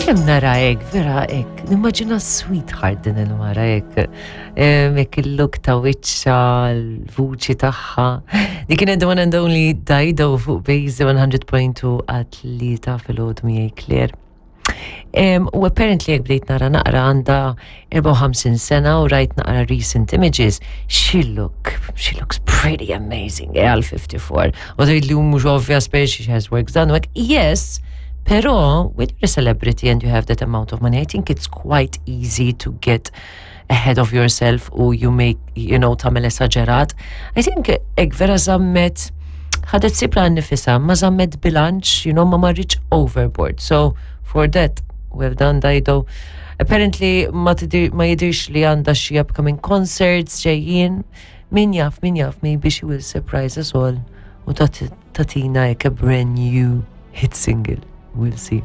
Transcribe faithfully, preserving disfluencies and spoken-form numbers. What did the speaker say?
Kemm nara hekk, vera hekk, nimmaġina sweetheart din il-mara hekk. Hekk il-look ta' wiċċha, l-vuċi tagħha. Dik kienet the one and only Dido fuq Base one hundred point two għat-tlieta filgħodu miegħi Claire. Um, u apparently jekk bdejt nara naqra, għandha erbgħa u ħamsin sena u rajt naqra recent images, she look, she looks pretty amazing, eh, għal fifty-four. U tgħid li mhux obvious per she has work done, like, yes, pero when you're a celebrity and you have that amount of money, I think it's quite easy to get ahead of yourself u you make, you know, tagħmel esaġerat. I think hekk vera żammet, ħadet sibra nifisha, ma żammet bilanċ, you know, ma marritx overboard. So, for that, well done, Dido. Apparently, ma, tidir, ma jidirx li għandha xi upcoming concerts ġejjin. Min jaf, min jaf, maybe she will surprise us all u tagħtina hekk a brand new hit single. We'll see.